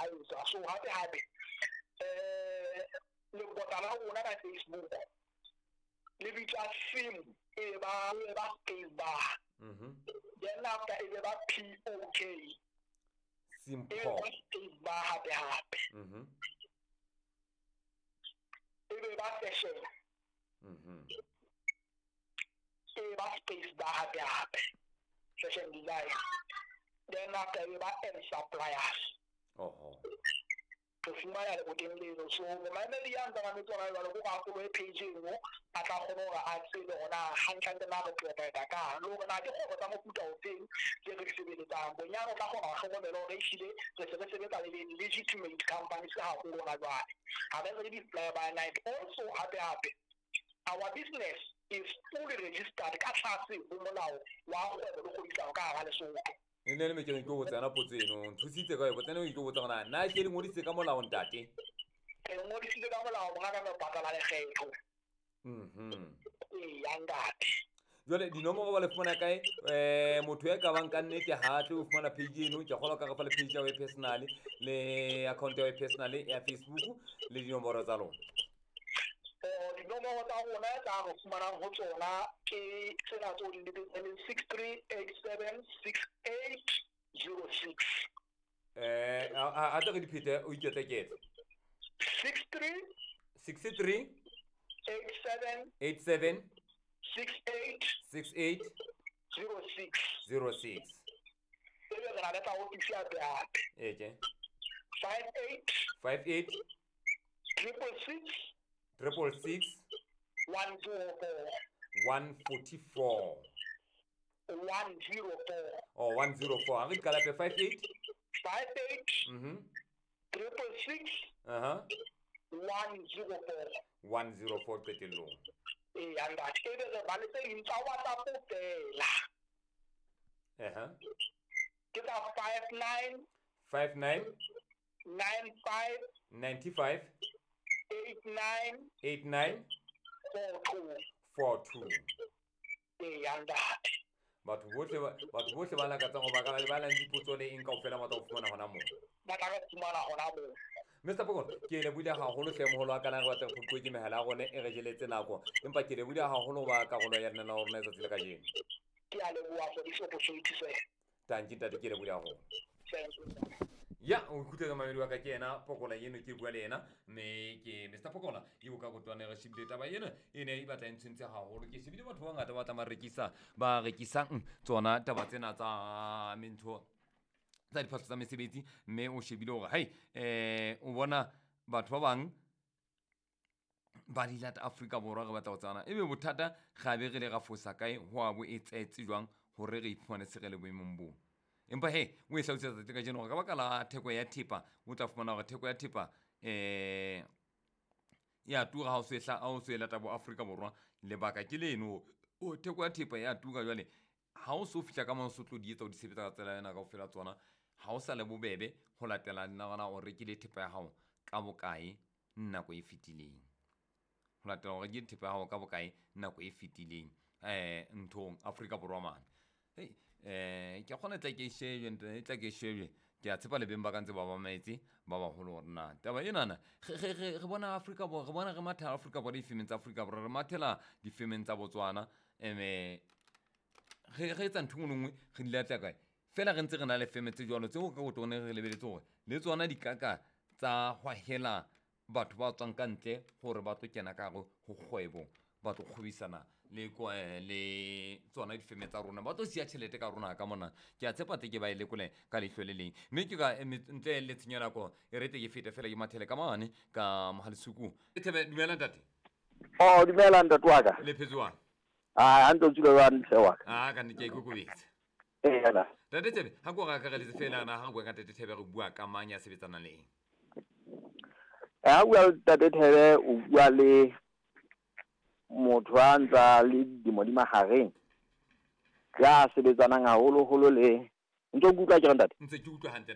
etswa. So hape hape lebota la rona ka Facebook le bitswa Sim, e ba space bar. Then after e be ba POK. Simple. E be ba space bar hape hape. E be ba fashion. E ba space bar hape hape. Fashion design. Then after e be ba M suppliers. Oho. Re fumana leboteng leno. So momamedi ya ntseng a metse hona jwale ko ka follow page eno, a tla kgona hore a tsebe hore na hantlentle na re provide kang, le hore na ke kgwebo tsa mofuta ofeng tse re di sebeletsang. Bonyane o tla kgona ho hlokomela hore ehlile re se re sebetsa le legitimate companies haholo hona jwale. Ha re re di-fly by night. Also hape hape, our business is fully registered ka tlase ho molao wa kgwebo le kgwebisano ka hara Lesotho. E ne le me ke ne ke botsa yona potso eno, nthusitse ka yona, tsena ke botsa hore na ke le ngodisitse ka molao ntate? Re ngodisitse ka molao monga ka patala lekgetho. Ee, ntate. Jwale dinomoro ba le fumana kae? Motho ya ka bang ka nnete ha tle o fumana page eno, ke kgolwa ka re fa le page ya hao personal le account ya hao personal ya Facebook le dinomoro tsa lona. Dinomoro tsa rona tsa re fumanang ho tsona ke tsena tseo di lebetseng, 63876806. A tle re di phete o iketlekete. 63 63 87 87 68 68 06 06. Ebe re na le tsa ofisi hape hape. Eke. 58 58 666 666 104. 144. 104. Oh, 104. Ha re di qala hape, 58 58 666 104. 104 qetellong. Ee, ntate. Ebe re ba le tse ding tsa WhatsApp feela. Ke tsa 59 59 95 95 89 89 42. 42. Ee, ntate. Batho bohle ba lakatsang ho ba ka ba nang le dipotso le eng kaofela ba tla o fumana hona moo. Ba tla re fumana hona moo. Mr. Pokolo, ke lebohile haholo hle moholo wa ka, na re batla re phupuwe ke mehala ya rona e re jeletse nako. Empa ke lebohile haholo ho ba karolo ya lenaneo la rona letsatsi la kajeno. Ke a leboha for this opportunity, sir. Tanki ntate, ke lebohile haholo. Thank you. Ya, o ikutlwetse mamedi wa ka, ke yena Pokola eno ke bua le yena, mme ke Mr. Pokola eo ka kotwane re shebile taba ena e ne e batla e ntshwentse haholo. Ke shebile batho ba bangata ba tla ba rekisa, ba rekisang tsona taba tsena tsa mentho tsa diphahlo tsa mesebetsi, mme o shebile hore hai, o bona batho ba bang ba di lata Afrika Borwa, re batla ho tsana ebe bothata ra be re le ra fosa kae, ho a bo etsahetse jwang hore re iphumane se re le boemong boo. Empa he, o e hlalosetsa tsatsi kajeno hore ka baka la theko ya thepa, o tla fumana hore theko ya thepa ya tura ha o se ha o se lata bo Afrika Borwa. Lebaka ke leno, o theko ya thepa ya tura jwale ha o so fihla ka moo o so tlo di etsa o di sebetsa ka tsela ena kaofela tsona, ha o sa le bobebe ho latela nna o rekile thepa ya hao ka bokae nako e fetileng. Ho latela o rekile thepa ya hao ka bokae nako e fetileng nthong Afrika Borwa mane. Hey, ke kgona tla ke shebe ntle, tla ke shebe. Ke a tshepa le beng ba ka ntse ba mametse ba baholo hore na taba enana re bona Afrika Borwa, re bona re mathela Afrika Borwa difemeng tsa Afrika Borwa, re mathela difemeng tsa Botswana, eme re etsa ntho e nngwe le nngwe re di latela kae. Fela re ntse re na le feme tse jwalo tseo ka botone re lebeletse hore le tsona di kaka tsa hwahela batho ba tswang ka ntle hore ba tlo kena ka hare ho kgwebo, ba tlo kgwebisana le le tsona difeme tsa rona, ba tlo siya tjhelete ka rona ka mona. Ke a tshepa tle ke ba e lekole ka leihlo le leng, mme ke ka ntle le tshenyo ya nako e re tle ke fete fela ke mathele ka mane ka Mohalesuku. Thebe, dumela ntate. Oh, dumela ntate wa ka. Le phetse jwang? Ah, ha ntse o tswile jwang ntle wa ka? Ah, ka nnete ke a ikokobetsa. Ee, yana. Ntate Thebe, ha ko re akareletse fela na ha re bua ka Ntate Thebe re bua ka mang ya sebetsanang le eng? Ha bua le Ntate Thebe, o bua le motho a ntsa le dilemo di mahareng, ya sebetsanang haholoholo le ntse o kutlwa ke re ntate? Ntse ke utlwa hantle.